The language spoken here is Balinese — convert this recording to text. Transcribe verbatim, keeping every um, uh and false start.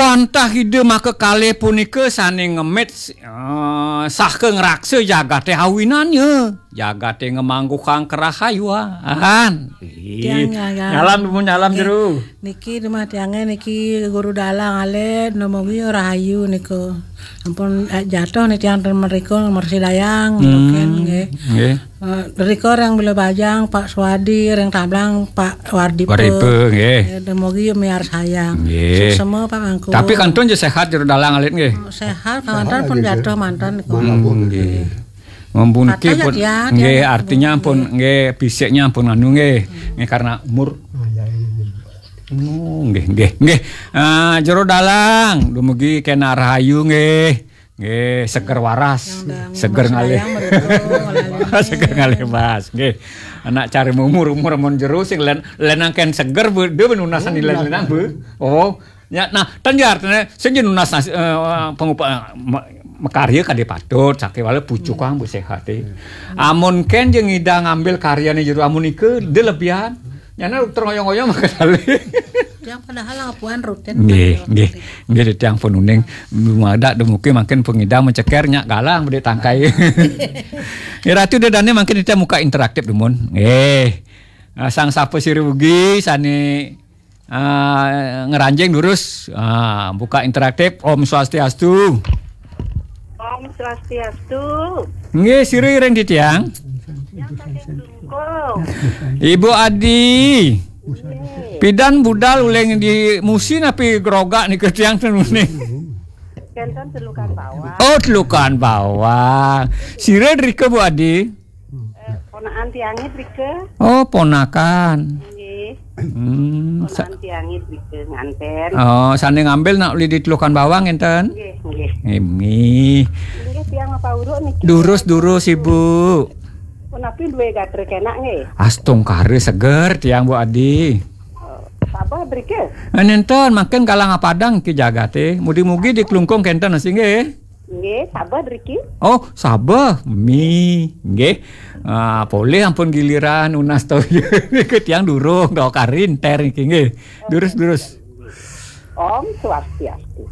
Antah Ida makakalih punika sané ngemit, eh, saha ngraksa jagaté awinannya. Jagaté ngamangguhang karahayuan. Ih, tiang nyalam. Nyalam, Dumun, nyalam. Nggih. Jero. Niki rumah tiangé niki Guru Dalang alit, dumugi rahayu nika. Ampun, eh, jatuh nih tiang ten mrika mersidayang, hmm, nggih. Nggih. Eh, rika ring Bela Bajang, Pak Suwadi, ring Tablang, Pak Wardipa. Wardipa, nggih. Eh, dumugi miarsayang. Nggih. Suksema, Pak Mangku. Tapi kantun ja sehat Jero Dalang alit, nggih. Oh, sehat, kawanten pun jatuh manten niku. Hmm, nggih. Mumpuniki pun, ya, nggih, ya, artinya pun, nggih, fisiknya pun anu, nggih. Nggih, karena umur. Oh, iya, iya, iya. Oh, nggih, nggih, nggih. Ah, Jero Dalang, dumugi kena rahayu, nggih. Nggih, seger waras. Yang dah seger ngalih. Seger ngalih, Mas. Nggih. Anak cari umur-umur amun Jero sing len, len angken seger, Bu. Dia benunasan. Oh, nilai iya. Menang, Bu. Oh, ya, nah, ten ja artine sing ja nunas nas-, eh, pangupa-, eh, ma-, makarya kadé patut, sakéwala pucukang, Bu, séhaté. Amun kén ja ngidang ngambil karyané Jero amun nika, dia lebihan. Nyana terus ngoyong-ngoyong maka dalih. Yang padahal laporan rutin. Nggih, kan, nggih. Rutin. Nggih, titiang pun uning. Dumadak dumugi mangkin pengidang menceker nyak galang bedé tangkai. Ya, Ratu, ida dané mangkin kita muka interaktif, Dumun. Nggih. Ah, sang sapa sira ugi sané, ah, ngranjing durus, ah, buka interaktif. Om Swastiastu. Om Swastiastu. Nggih, sira ring titiang. Yang saking Dungkung. Ibu Adi. Nggih. Pidan budal uling di musi napi grogak nika tiang ten uning. Kenten Telukan Bawang. Oh, Telukan Bawang. Sira drika, Bu Adi? Eh, ponakan tiangé drika. Oh, ponakan. Nggih. Hmm, sa- Ponakan tiangé drika nganten. Oh, sané ngambil nak uli di Telukan Bawang enten? Nggih, nggih. Nggih. Nggih, tiang apa uruk niki? Durus, durus, Ibu. Punapi duwe gatra kenak nggih? Astungkara seger tiang, Bu Adi. Oh, sabeh drika? Eh, nenten, mangkin galang apadang ki jagaté. Mugi-mugi di Klungkung kenten sih nggih. Nggih, sabeh driki. Oh, sabeh. Mi, nggih. Ah, polih ampun giliran nunas toya. Nika tiang durung, dua kali enter niki nggih. Durus, durus. Om Swastiastu.